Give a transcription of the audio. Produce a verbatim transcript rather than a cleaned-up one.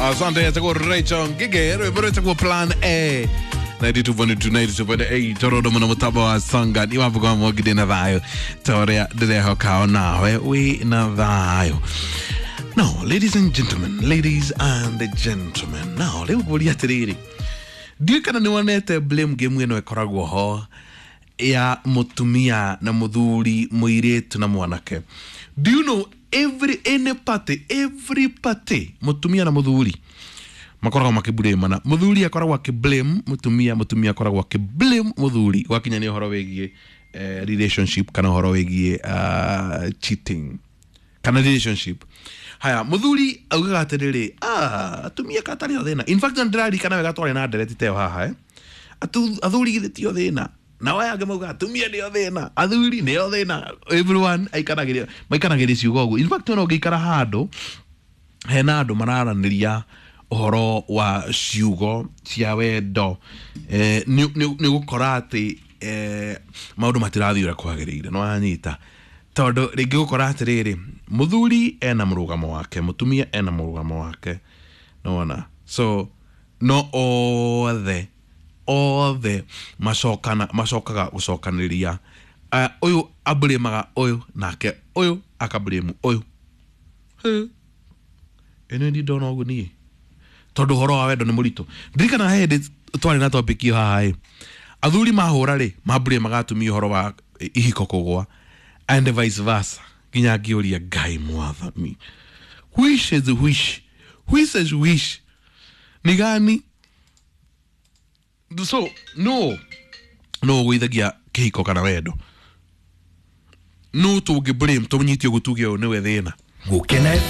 Asante etagwo Rachel Ngige, rwĩmbo rwĩtagwo Plan A ninety-two point two, ninety-two point eight, torodo muno mũtambo wa Songa ni wavuga mwogide na thayũ ta ũrĩa ndĩrehoka onawe wĩ na thayũ. Now, ladies and gentlemen, ladies and gentlemen, now rĩu ngũria atĩrĩrĩ, ndiũĩ kana nĩ wonete blame game ĩno ĩkoragwo ho ya mũtumia na mũthuri, mũirĩtu na mwanake. Do you know every any party, every party, mũtumia na mũthuri makoragwo makĩblamana? Mũthuri akoragwo akĩblame mũtumia, mũtumia akoragwo akĩblame mũthuri gwakinya nĩ ũhoro wĩgiĩ eh, relationship kana ũhoro wĩgiĩ uh, cheating kana relationship. Haya, mũthuri augaga atĩrĩrĩ, "Ah, atumia katarĩ o thĩna." In fact, ndĩraririkana wega twarĩ na ndereti ta ĩyo haha, eh? Atu- athuri githĩ tio thĩna, nao aya angĩ maugaga atumia nĩo thĩna, athuri nĩo thĩna. Everyone aikanagĩria, maikanagĩria ciugo ũguo. In fact, ona ũngĩikara handũ hena andũ mararanĩria ũhoro wa ciugo cia wendo, eh, nĩ nĩ- nĩ gũkora atĩ eh, maũndũ matirathiĩ ũrĩa kwagĩrĩire. No wanyita, tondũ rĩngĩ gũkora atĩrĩrĩ, mũthuri ena mũrũgamo wake, mũtumia ena mũrũgamo wake, nĩwona? So no othe othe macokana macokaga gũcokanĩria. uh, ũyũ ablĩmaga ũyũ, nake ũyũ akablame ũyũ. Ĩno ndi ndona ũguo niĩ, tondũ ũhoro wa wendo nĩ mũritũ. Ndirikana he hĩndĩ twarĩ na topic ĩyo haha ĩ, athuri mahũra rĩ, mablĩmaga atumia ũhoro wa ihiko kũgwa and vice versa, nginya ngĩũria Ngai mwathani, which is which, which is which, ni gani? So no no ũgũithagia kĩhiko kana wendo, no tũngĩ blame tũnyite ũguo tuge ũyũ nĩwe thĩna. Gukena F M.